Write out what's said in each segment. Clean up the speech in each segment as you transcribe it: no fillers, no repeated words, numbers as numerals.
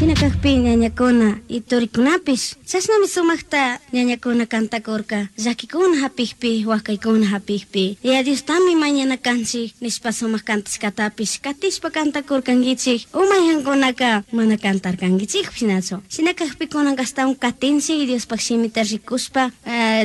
Shina kakpi ñañakuna y turikunapish chashnami sumaqta ñañakuna cantakurka llakikuna hapikpi wakaykuna hapikpi Yaya Diostami mañana kanchik nishpa sumaq kantashkatapish katishpa cantakurkankichik o mayhankunaka mana cantarkankichikpish nachu shina kakpi kunanka ashtawan katinchik Diospaq shimita rikushpa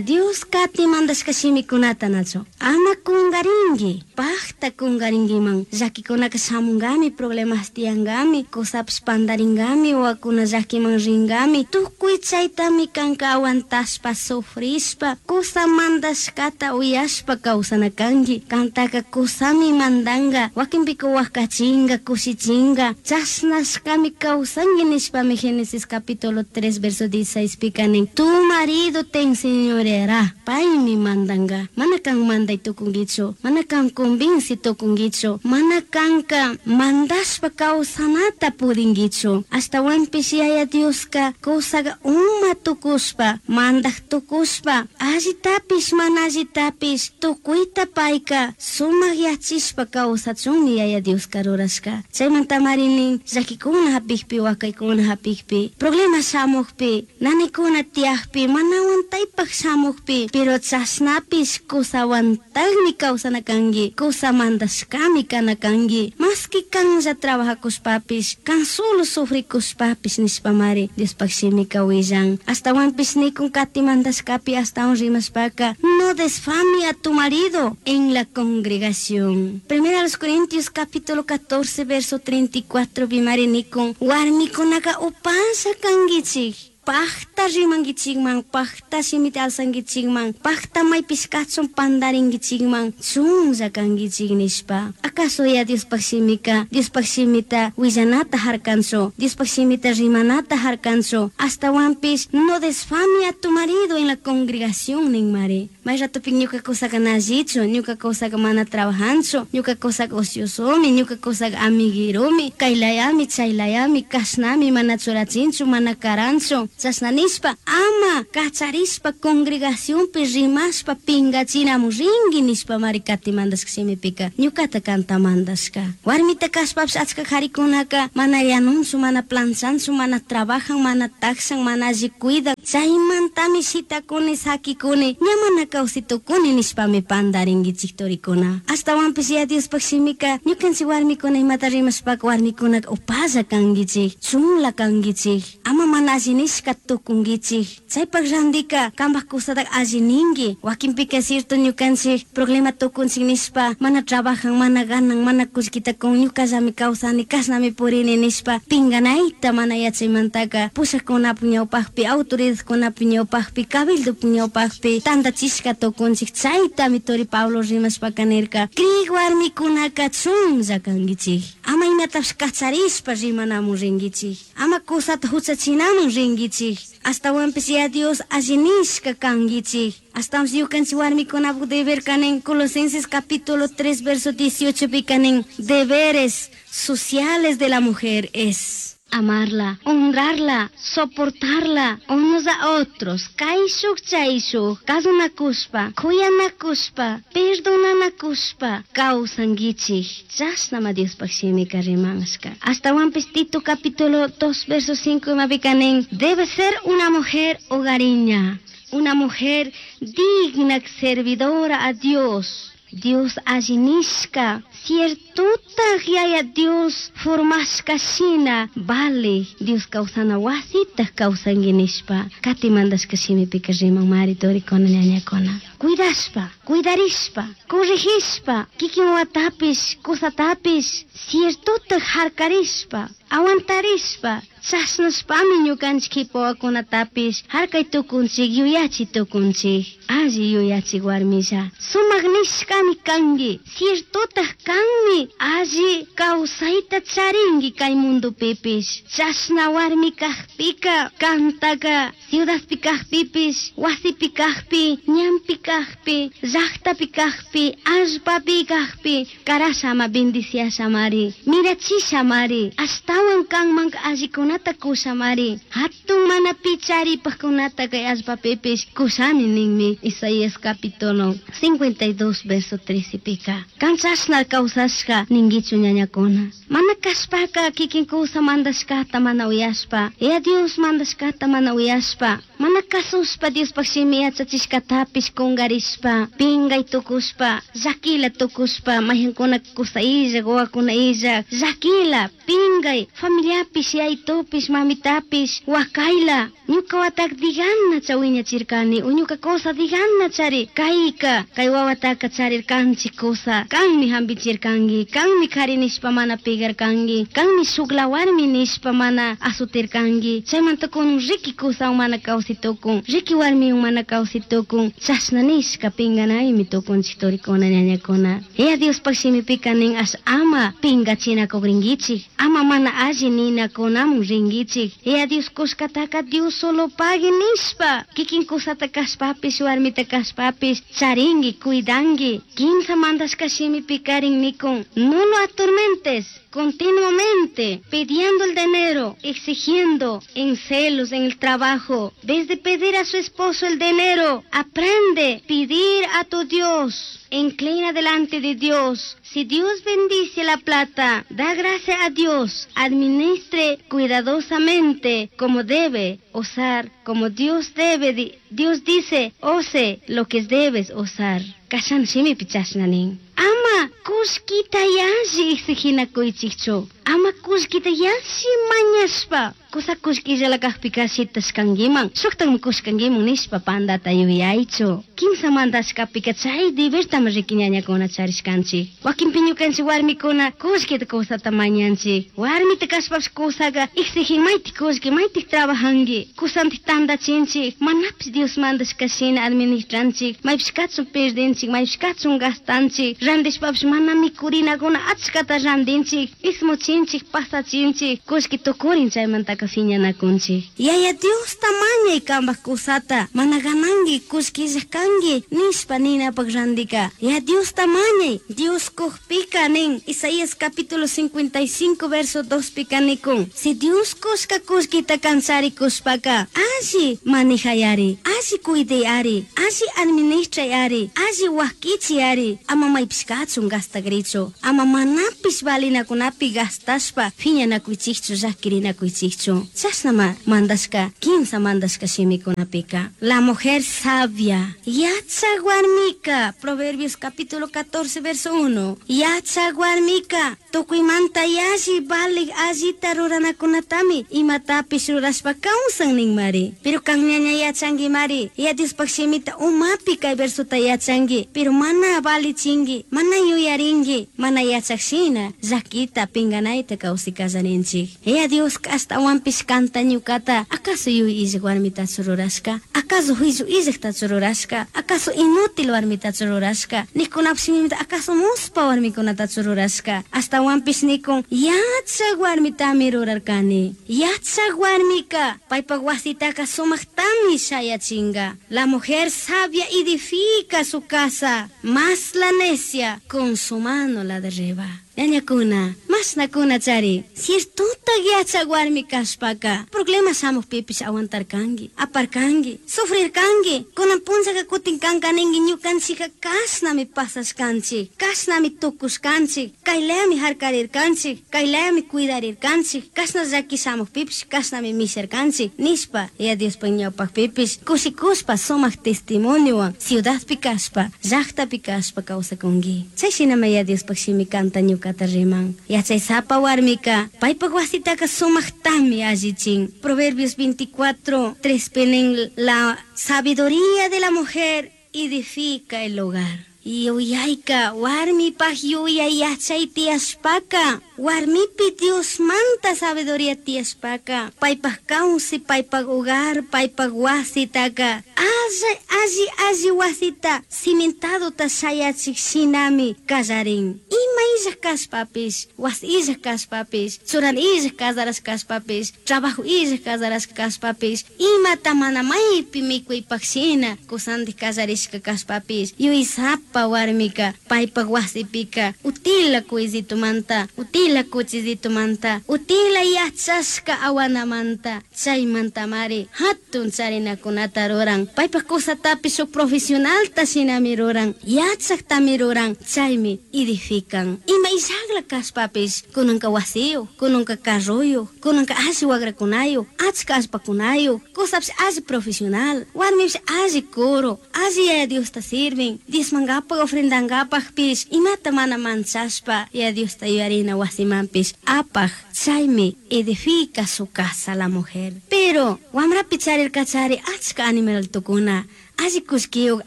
Dios kati mandashka shimikunata nachu ama kungarinki pakta kungarinkiman llakikunaka shamunkami problemas tiyankami kusapish pandaringami wawakuna llakiman ringami tukuy chaytami kanka aguantashpa sufrishpa kusa mandashkata uyashpa kawsana kanki kantaka kusami mandanka wakinpika wakachinka kushichinka chashnashkami kawsanki nishpami Génesis capítulo 3 verso 16 pika nin tu marido te enseñoreará paymi mandanka mana kan manday tukunkichu mana kan convinci tukunkichu mana kanka mandashpa kawsanata pudinkichu ashtawanpish Yaya Dioska kusaka uma tukushpa mandak tukushpa allitapish mana allitapish tukuyta payka sumak yachishpa kawsachunmi Yaya Dioska rurashka chaymantamari nin llakikuna hapikpi wakaykuna hapikpi problema shamukpi nanikuna tiyakpi mana aguantaypak shamukpi pero chashnapish kusawantakmi kawsana kanki kusa mandashkami kana kanki maski kanlla trabajakushpapish kan solo sufrikushpapish nishpamari Diospaq shimika willan ashtawanpish nikun kati mandashkapi ashtawan rimashpaka no desfame a tu marido en la congregación. Primera los Corintios capítulo 14 verso 34 pimari nikun warmikunaka upalla kankichik pakta rimankichikman pakta shimita alzankichikman pakta maypish kachun pandarinkichikman chunlla kankichik nishpa acaso ya Diospaq shimika Diospaq shimita willanata harkanchu Diospaq shimita rimanata harkanchu ashtawanpish no desfame a tu marido en la congregación ninmari may ratopik ñuka kusaka na allichu ñuka kusaka mana trabajanchu ñuka kusaka ociosomi ñuka kusaka amigueromi kaylayami chaylayami kashnami mana churachinchu mana karanchu chashna nishpa ama kacharishpa congregacionpi rimashpa pingachinamun rinki nishpamari kati mandashka shimipika ñukata kanta mandashka warmita kashpapish achka karikunaka mana yanunchu mana planchanchu mana trabajan mana takshan mana alli cuidan chaymantami shitakuni sakikuni ña mana kawsay tukuni nishpami pandarinkichik turikuna ashtawanpish ya Diospaq shimika ñukanchik warmikuna imata rimashpaka warmikunaka upalla kankichik chunla kankichik ama mana alli nishka tukunkichik chaypak randika kanpak kusataka alli ninki wakinpika cierto ñukanchik problema tukunchik nishpa mana trabajan mana ganan mana kullkita kun ñukallami kawsani kashnami purini nishpa pinganayta mana yachaymantaka pushakunapak ñawpakpi autoridadkunapak ñawpakpi cabildopak ñawpakpi tantachishka tukunchik chaytami turi Pablo rimashpaka nirka krik warmikunaka chunlla kankichik ama imatapish kacharishpa rimanamun rinkichik ama kusata huchachinamun rinkichik ashtawanpish ya Dios alli nishka kankichik ashtawanpish ñukanchik warmikunapak deber kanin Colosenses capítulo 3 verso 18 pi kanin deberes sociales de la mujer es amarla, honrarla, soportarla unos a otros, kayshuk chayshuk, kasunakushpa, kuyanakushpa, perdonanakushpa, kawsankichik. Chashnama Diospaq shimika rimashka. Ashtawanpish Tito capítulo 2 verso 5 imapika nin, debe ser una mujer hogareña, una mujer digna servidora a Dios. Dios alli nishka, ciertotaj Yaya Dios formashka shina, vale, Dios kawsana wasitaj kawsanki nishpa. Kati mandashka shimipika riman mari turikuna ñañakuna. Cuidashpa, cuidarishpa, corregishpa, kikin wawatapish, kusatapish, ciertotaj harkarishpa, aguantarishpa, chashnashpami ñukanchik kipa wawakunatapish harkay tukunchik yuyachi tukunchik. Alli yuyachik warmilla. Sumak nishkami kanki, ciertotaj kanmi alli kawsayta charinki kay mundopipish. Chashna warmi kakpika kantaka ciudadpi kakpipish, wasipi kakpi, ñanpi kakpi. Cajpi, llajtapi cajpi, allpapi cajpi, karashama bendiciashamari, mirachishamari, ashtawan kanman allikunata kushamari, hatun mana picharipajkunata kay allpapipish kushami ninmi. Isaías capítulo 52 verso 13 pika. Kan chashna kawsashka ninguichu ñañakuna. Mana kashpaka kikin kusa mandashkata mana uyashpa, ya Dios mandashkata mana uyashpa, mana kasushpa Diospaj shimi yachachishkatapish kungarishpa, pingay tukushpa, llakila tukushpa, mayhankuna kusa illak, wawakuna illak, llakila, pingay, familiapish, yayitupish, mamitapish, wakayla, ñuka watak digana chawiñachirkani, o ñuka kusa digana chari, kayka, kay wawataka charirkanchik kusa, kanmi hampichirkanki, kanmi kari nishpa mana pigarkanki, kanmi shukla warmi nishpa mana asutirkanki, chaymanta kunan riki kusawan mana kawsay tukun, riki warmiwan mana kawsay tukun, chashna nishka pinganaymi tukunchik turikuna ñañakuna. Ya Diospaj shimipika nin ash ama pingachinakukrinkichik, ama mana alli ninakunamun rinkichik. Ya Dios kushkataka Dios solo pagui nishpa, kikin kusata kashpapish, warmita kashpapish, charinki, cuidanki. Kimsa mandashka shimipikarin nikun, no lo atormentes continuamente, pidiendo el dinero, exigiendo en celos, en el trabajo. Vez de pedir a su esposo el dinero, aprende a pedir a tu Dios. Inclina delante de Dios. Si Dios bendice la plata, da gracia a Dios. Administre cuidadosamente como debe usar, como Dios debe. Dios dice, ose lo que debes usar. Kashan shimi pichashnanin. Ama kullkita yalli exiginakuichikchu. Ama kullkita yalli mañashpa. Kusa kullkillala kajpika shitashkankiman, shuktakmi kushkankiman nishpa pandata yuyaychu. Kimsa mandashkapika chay debertami riki ñañakuna charishkanchik. Wakinpi ñukanchik warmikuna kullkita kusata mañanchik. Warmita kashpapish kusaka exigin maytik kullki, maytik trabajanki. Kusantik tandachinchik, manapish Dios mandashka shina administranchik, maypish kachun perdinchik, maypish kachun gastanchik, randishpapish mana mikurinakuna achkata randinchik, ismuchinchik, pasachinchik, kullki tukurin chaymantaka fiñanakunchik. Yaya Diosta mañay kambaj kusata, mana gananki, kullkilla kanki, nishpa ninapaj randika. Ya Diosta mañay, Dios kujpika nin, Isaías capítulo 55 verso 2 pika nikun. Si Dios kushka kullkita kanchari kushpaka, alli manejayari, alli cuidayari, alli administrayari, alli wakichiyari, ama maypish kachun gastagrichu, ama manapish valinakunapi gastashpa fiñanakuychikchu, llakirinakuychikchu. Chashnama mandashka, kimsa mandashka shimikunapika. La mujer sabia, yachak warmika, Proverbios capítulo 14 verso 1. Yachak warmika, tukuymanta yalli valik allita ruranakunatami, imatapish rurashpa kawsan ninmari. Pero kan ñaña yachanki mari, ya Diospaj shimita umapi kay versota yachanki, pero mana valichinki, mana yuyarinki, mana yachak shina, llakita pinganayta kawsay kallarinchik. Ya Dios ashtawanpish kanta ñukata, acaso yuy illak warmitachu rurashka? Acaso juicio illaktachu rurashka? Acaso inútil warmitachu rurashka? Nikunapish shimimita acaso muspa warmikunatachu rurashka? Ashtawanpish nikun yachak warmitami rurarkani. Yachak warmika paypak wasitaka sumaktami shayachinga. La mujer sabia edifica su casa, mas la necia con su mano la derriba. Ñañakuna, mashnakuna chari, ciertota yachak warmi kashpaka, problemas shamukpipish aguantarkanki, aparkanki, sufrirkanki, kunan punllaka kutin kanka ninki ñukanchika kashnami pasashkanchik, kashnami tukushkanchik, kaylayami harkarirkanchik, kaylayami cuidarirkanchik, kashna llaki shamukpipish kashnami misharkanchik, nishpa, ya Diospaj ñawpakpipish, kushikushpa sumak testimoniowan, ciudadpi kashpa, llaktapi kashpa kawsakunki. Chay shinami ya Diospaj shimi kanta ñukata riman. Yachaysapa warmika, paypak wasitaka sumaktami allichin. Proverbios 24, 3 nin, la sabiduría de la mujer edifica el hogar. Yuyayka, warmipaj yuyay yachay tiyashpaka, warmipi Diosmanta sabiduría tiyashpaka, paypaj kawsay, paypaj hogar, paypaj wasitaka, Alli alli wasita cimentadota shayachik shinami kallarin. Ima illaj kashpapish, wasi illaj kashpapish, churan illaj casarash kashpapish, trabajo illaj casarash kashpapish, imata mana maypi mikuypak shina kusandik kallarishka kashpapish, yuysapa warmika paypak wasipika utila kuysitumanta, utila kuchisitumanta, utila yachashka awanamanta, chaymantamari hatun charinakunata ruran. Paypak kusatapish shuk profesionalta shinami ruran, yachaktami ruran, chaymi edifican. Ima illakla kashpapish, kunanka wasiyuq, kunanka carruyuq, kunanka alli wakrakunayuq, achka allpakunayuq, kusapish alli profesional, warmipish alli coro, alli Yaya Diosta sirvin, diezmankapak ofrendankapakpish, imata mana manchashpa Yaya Diosta yuyarina wasimanpish apaj, chaymi edifica su casa la mujer. Pero wamrapi charirkachari achka animaltukuna, alli kullkiyuq,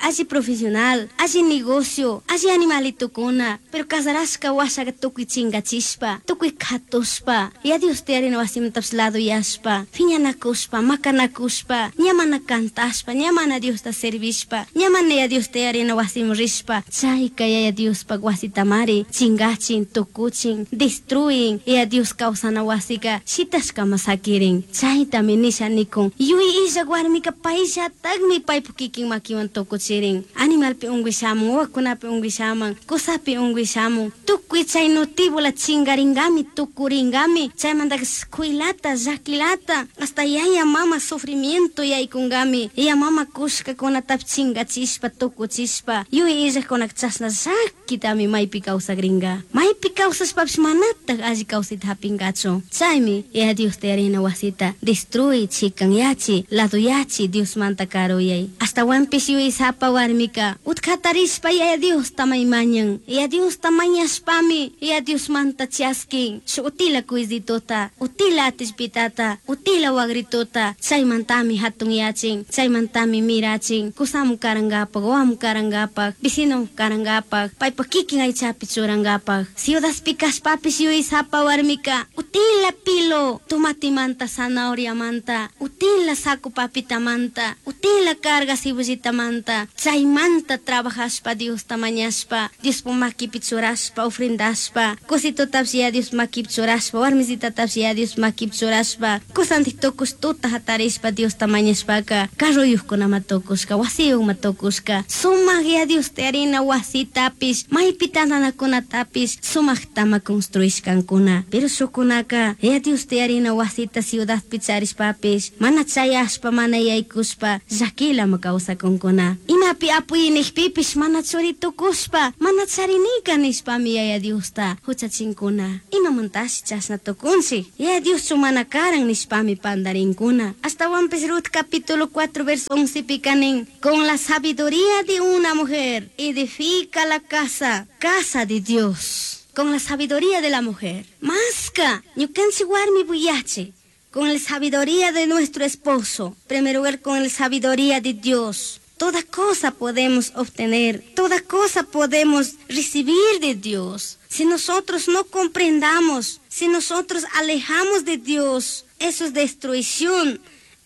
alli profesional, alli negocio, alli animalitukuna, pero casarashka washaka tukuy chinkachishpa, tukuy katushpa, Yaya Diosta yarina wasimantapish laduyashpa, phiñanakushpa, makanakushpa, ña mana cantashpa, ña mana Diosta servishpa, ña mana Yaya Diosta yarina wasiman rishpa, chayka Yaya Diospak wasitamari chinkachin, tukuchin, destruyin, Yaya Dios kawsana wasika shitashkama sakirin. Chaytami nisha nikun, yuy illak warmika payllatakmi paypuk kikin makiwan tukuchirin. Animalpi unkuy shamun, wawakunapi unkuy shaman, kusapi unkuy shamun, tukuy chay nutibula chinkaringami, tukuringami, chaymantaka escuelata, llakilata, hasta yaya mama sufrimiento yaykunkami, yaya mama kushkakunatapish chinkachishpa, tukuchishpa, yuy illakkunaka chashna llakitami maypi kawsakrinka. Maypi kawsashpapish manatak alli kawsayta hapinkachu. Chaymi Yaya Diosta yarina wasita destruy, chikanyachi, laduyachi, Diosmanta karuyay. Ashtawanpish yuysapa warmika utkatarishpa Yaya Diosta maymañan. Yaya Diosta mañashpami Yaya Diosmanta chaskin shuk utila kuysituta, utila atishpitata, utila wagrituta, chaymantami hatunyachin, chaymantami mirachin, kusamu karankapak, wawamu karankapak, vecino karankapak, paypak kikin aychapi churankapak. Ciudadpi kashpapish yuysapa warmika utila pilo tomatimanta, zanahoriamanta, utila saco papitamanta, utila carga cebollitamanta, chaymanta trabajashpa Diosta mañashpa, Diospuk makipi churashpa, ofrendashpa, kusitutapish Yaya Dios makipi churashpa, warmisitatapish Yaya Dios makipi churashpa, kusantik tukush tuta hatarishpa Diosta mañashpaka, carruyukkunama tukushka, wasiyukma tukushka, sumak Yaya Diosta yarina wasitapish, maypi tantanakunatapish sumaktama construishkankuna. Pero shukunaka Yaya Diosta yarina wasita ciudadpi charishpapish, mana chayashpa, mana yaykushpa, llakilama kawsakunkuna. Imapi apuyinikpipish mana churi tukushpa, mana charinika nishpami Yaya Diosta huchachinkuna. Imamantashi chashna tukunchik? Yaya Dioschu mana karan nishpami pantarinkuna. Ashtawanpish Ruth capítulo 4 verso 11 pika nin, con la sabiduría de una mujer edifica la casa, casa de Dios. Con la sabiduría de la mujer. Maska, ñukanchik warmi buyachi. Con la sabiduría de nuestro esposo. Primero lugar, con la sabiduría de Dios. Toda cosa podemos obtener, toda cosa podemos recibir de Dios. Si nosotros no comprendamos, si nosotros alejamos de Dios, eso es destrucción,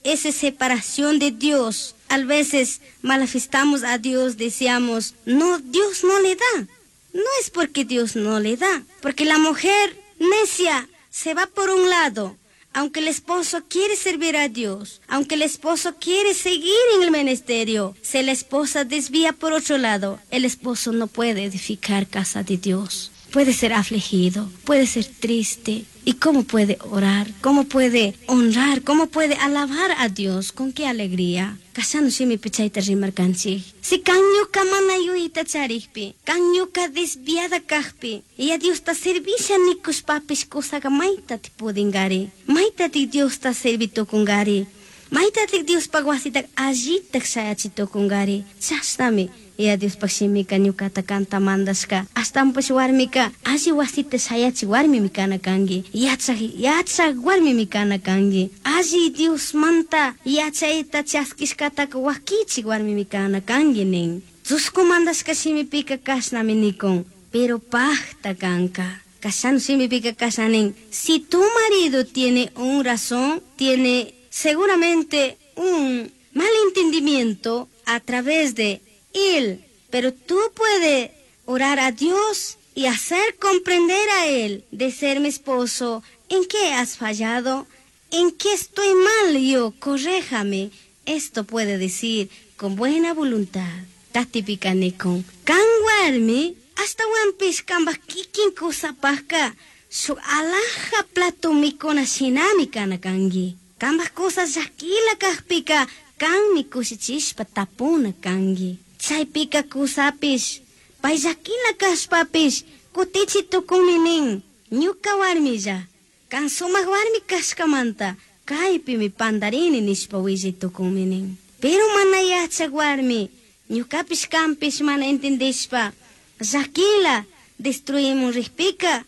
esa es separación de Dios. A veces malafistamos a Dios, decíamos, no, Dios no le da. No es porque Dios no le da, porque la mujer necia se va por un lado. Aunque el esposo quiere servir a Dios, aunque el esposo quiere seguir en el ministerio, si la esposa desvía por otro lado, el esposo no puede edificar casa de Dios. Puede ser afligido, puede ser triste. ¿Y cómo puede orar? ¿Cómo puede honrar? ¿Cómo puede alabar a Dios? ¿Con qué alegría? Kashanu shimipi chayta rimarkanchik. Si kan ñuka mana yuyayta charikpi, kan ñuka desviada kajpi, Yaya Diosta servisha nikushpapish kusaka maytatik pudingari, maytatik Diosta servi tukungari, maytatik Diospak wasita allitak shayachi tukungari. Chashnami Yaya Diospak shimika ñukata kanta mandashka. Ashtawanpish warmika alli wasita shayachi warmimi kana kanki, yachak yachak warmimi kana kanki, alli Diosmanta yachayta chaskishkataka wakichik warmimi kana kanki nin. Chusku mandashka shimipika kashnami nikun, pero pajta kanka. Kashanu shimipika kashna nin, si tu marido tiene un razón, tiene seguramente un malentendimiento, a través de Él. Pero tú puedes orar a Dios y hacer comprender a Él de ser mi esposo, en qué has fallado, en qué estoy mal yo, corréjame. Esto puede decir con buena voluntad. Tatipika nikun. Kan warmi, ashtawanpish kambaj kikin kusapajka, shuk alaja plato mikuna shinami kana kanki. Kambaj kusa llakila kajpika, kanmi kushichishpa tapuna kanki. Chaypika kusapish, pay llakila kashpapish, kutichi tukunmi nin, ñuka warmilla, kan sumak warmi kashkamanta, kaypimi pandarini nishpa willay tukunmi nin. Pero mana yachak warmi, ñukapish kanpish mana entendishpa, llakila destruimun rikpika,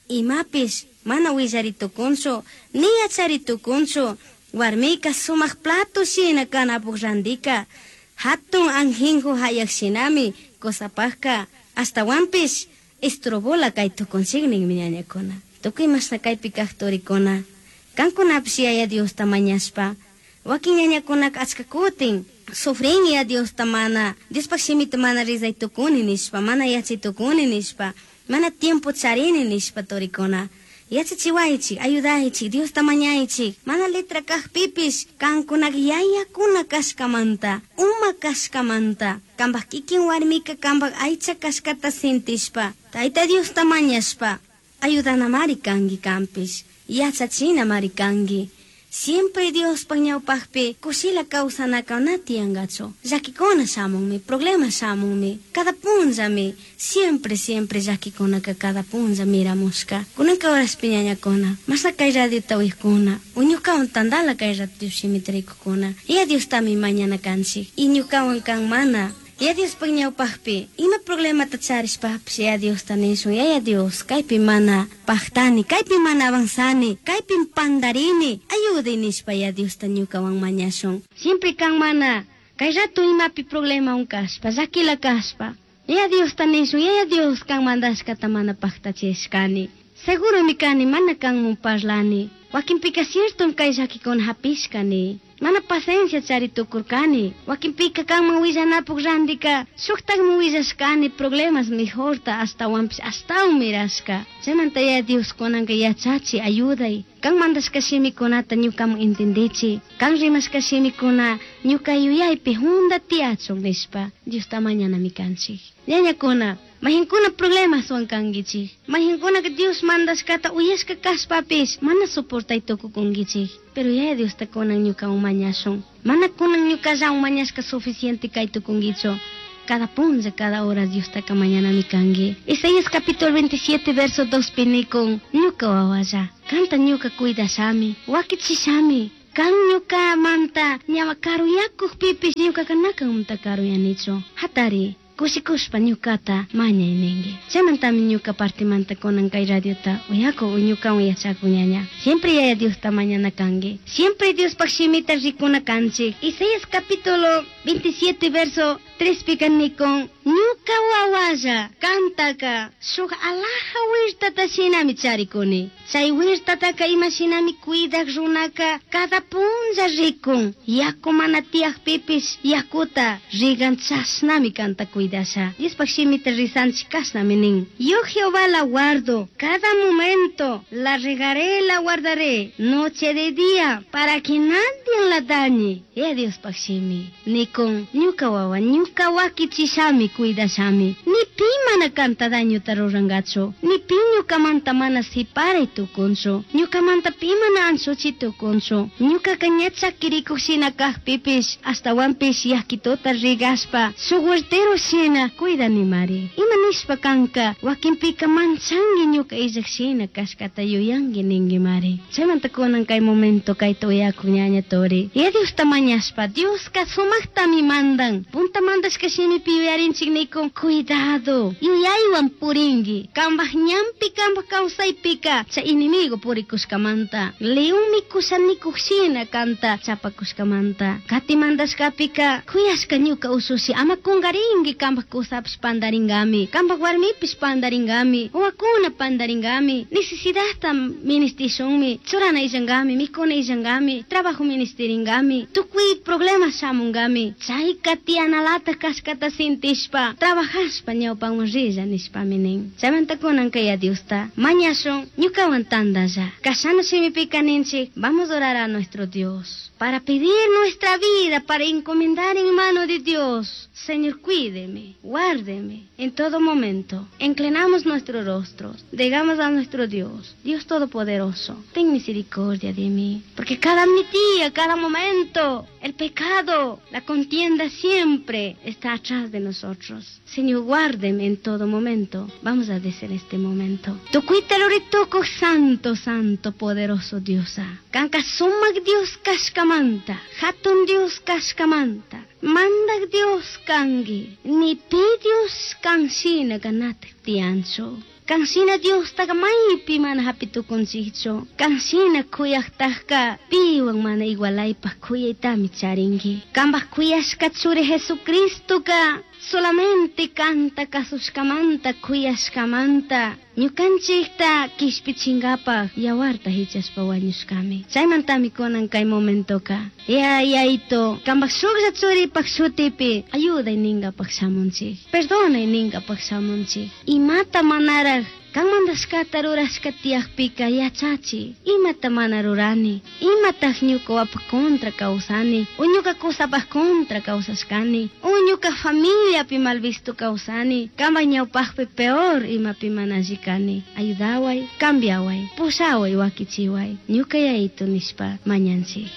imapish mana willari tukunchu, ni yachari tukunchu, warmika sumak plato shina kanapuk randika, hatun anjinju hayak shinami kusapajka, ashtawanpish estrobola kay tukunchik ninmi ñañakuna. Tukuy mashna kaypi kaq turikuna, kankunapish Yaya Diosta mañashpa, wakin ñañakunaka achka kutin, sufrin Yaya Diosta mana, Diospaj shimita mana rizay tukuni nishpa, mana yachay tukuni nishpa, mana tiempo charini nishpa turikuna. Yachachiwaychik, ayudaychik, Diosta mañaychik, mana letra kajpipish, kankunaka yayakuna kashkamanta, uma kashkamanta, kambaj kikin warmika kambaj aycha kashkata sintishpa, Tayta Diosta mañashpa, ayudanamari kanki kanpish, yachachinamari kanki. Siempre Diospaj ñawpajpi kushila kawsanaka na tiyankachu. Llakikuna shamunmi, problema shamunmi, cada punllami, siempre, siempre llakikunaka cada punlla miramushka. Kunanka horaspi ñañakuna, mashna kay radiota uyakuna, o ñukawan tantala kay radio shimita rikukuna. Yaya Diostami mañana kanchik, y ñukawan kan mana. Yaya Diospaj ñawpajpi, ima problemata charishpapish Yaya Diosta nishun, Yaya Dios, kaypi mana pajtani, kaypi mana avanzani, kaypi pandarini, ayuday nishpa Yaya Diosta ñukawan mañashun. Siempre kan mana, kay rato imapi problema kashpa, llakila kashpa, Yaya Diosta nishun, Yaya Dios kan mandashkata mana pajtachishkani. Seguromi kani, mana kanmun parlani. Wakinpika cierto kay llakikuna hapishkani. Mana paciencia chari tukurkani. Wakinpika kanman willanapuk randika, shuktakman willashkani problemas mejorta ashtawanpish ashtawan mirashka. Chaymanta Yaya Dios kunanka yachachi, ayuday. Kan mandashka shimikunata ñukaman entendichi. Kan rimashka shimikuna ñuka yuyaypi junda tiyachun nishpa Diosta mañanami kanchik. Ñañakuna, majinkuna problemaswan kankichik. Majinkuna Dios mandashkata uyashka kashpapish mana soportay tukukunkichik. Pero Yaya Diosta kunan ñukawan mañashun. Mana kunan ñukallawan mañashka suficiente kay tukunkichu. Cada punlla, cada hora Diostaka mañanami kanki. Isaías capítulo 27 verso 2 pinikun, ñuka wawalla, kanta ñuka cuidashami, wakichishami. Kan ñuka manta, ñawa karuyakukpipish ñukaka nakanmanta karuyanichu. Hatari, kushikushpa ñukata mañay ninki. Chaymantami ñuka partimanta kunan kay radiota uyaku ñukawan yachaku ñaña. Siempre Yaya Diosta mañana kanki. Siempre Diospaj shimita rikuna kanchik. Isaías capítulo 27 verso 3 pika nikun, ñuka wawalla kantaka shuk alaja wirtata shinami charikuni. Chay wirtataka ima shinami cuidak runaka cada punlla rikun. Yaku mana tiyakpipish yakuta rigan chashnami kanta cuidasha. Diospaj shimita rizanchik kashnami nin. Yo Jehová la guardo cada momento, la regaré, la guardaré, noche de día, para que nadie la dañe. Ya Diospaj shimi. Nikun, ñuka wawa, ñuka wakichishami cuidashami. Ni pi mana kanta dañuta rurangachu. Ni pi ñukamanta mana siparay tukunchu. Ñukamanta pi mana anchuchi tukunchu. Ñukaka ña chakirikuq shina kajpipish, ashtawanpish yakituta rigashpa, shuk huertero shina cuidanimari. Ima nishpa kanka, wakinpika manchanki ñuka illak shina kashkata yuyanki ninkimari. Chaymanta kunan kay momento kayta uyakuq ñaña turi. Ya Diosta mañashpa, Dioska sumaktami mandan. Puntamanta Mandashka shimipi yuyarinchik nikun cuidado yuyaywan purinki kambaj ñanpi kambaj kawsaypika chay enemigo purikushkamanta león mikusha nikuj shina kanta chapakushkamanta. Kati mandashkapika kuyashka ñuka usushi ama kungarinki kambaj kusapish pandaringami kambaj warmipish pandaringami wawakuna pandaringami necesidadta ministishunmi churana illankami mikuna illankami trabajo ministiringami tukuy problema shamungami chayka tiyanalata kashkata sintishpa trabajashpa ñawpanman rilla nishpami nin. Chaymanta kunanka ya Diosta mañashun ñukawan tandalla. Kashana shimipika ninchik vamos a orar a nuestro Dios para pedir nuestra vida, para encomendar en mano de Dios. Señor, cuídeme, guárdeme en todo momento. Inclinamos nuestros rostros, digamos a nuestro Dios, Dios Todopoderoso, ten misericordia de mí. Porque cada día, cada momento, el pecado, la contienda siempre está atrás de nosotros. Señor, guárdeme en todo momento. Vamos a decir este momento. Tukuita santo, santo, poderoso Dios. Kanka sumak Dios kashkamanta, hatun Dios kashkamanta, mandak Dios kangi, ni pi Dios kanshina ganat tiancho. Kanshina Dios taga maypi mana hapitukunchikchu. Kanshina kuyaqtaqqa piwan mana igualaypaq kuyaytami charinki. Kambaq kuyashka churi Jesucristoka solamente kanta kasushkamanta kuyashkamanta ñukanchikta kishpichinkapaq yawarta hichashpa wañushkami. Chaymantami kunan kay momentoka. Ya yayito, kambaq shuklla churipaq shutipi ayuday ninkapaq shamunchik. Perdonay ninkapaq shamunchik. Imata manaraq kan mandashkata rurashka tiyaqpika yachachi. Imata mana rurani. Imataq ñuka wapaq contra kawsani. O ñuka kusapaq contra kawsashkani. O ñuka familiapi mal visto kawsani. Kambaq ñawpaqpi peor imapi mana alli kani. Ayudaway, cambiaway, pushaway wakichiway. Ñuka yayito nishpa mañanchik.